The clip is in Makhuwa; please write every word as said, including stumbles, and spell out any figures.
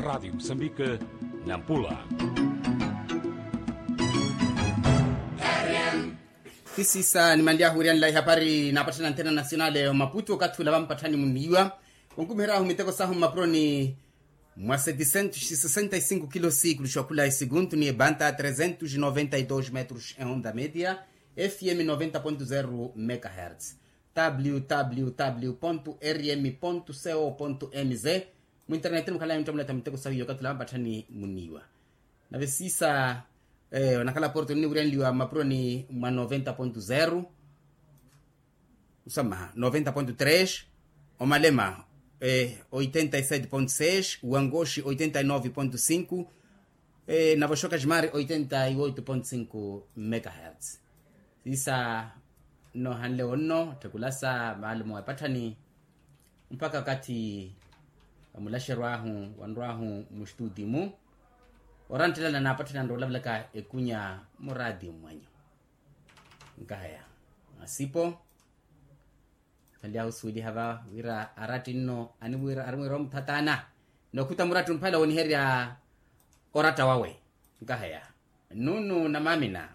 Radi musambike, nampula. Tisiisa nimanly'ahu wiriyanlayi hapari naapatthana anthena nasionale omaputu okathi ula vampatthani muniiwa. Onkumihery'ahu miteko sahu mmapuroni mwa sessenta e cinco kilos sikuluxa okhula esikuntu ni ebanta trezentos noventa e dos metros e onda media, fm noventa ponto zero megahertz, www rm co mz. Mu internet mukhala yonttamuletha miteko sahu iyo okathi ula vampatthani muniiwa. Nave siisa onakhala porto nniwiryanliwa mmapuroni mwa noventa ponto zero, osamaha noventa ponto tres, omalema oitenta e sete ponto seis, wangoxi oitenta e nove ponto cinco, nave oxoka ximari oitenta e oito ponto cinco megahertz. Siisa nnohanle wonno tthekulasa maalumo epatthani mpakha okathi omulaxeryo ahu wanrw'ahu mustutimu. Oranttelana naapatthani anrowa olavalaka ekunya muraatiyo mwanyu. Nkahaya masipo khanly'ahu osuweliha va wira aratti nno animwiira arimwiira omuthatana. Nookhuta muratti omphala wooniherya oratta wawe. Nkahaya nunu na maamina.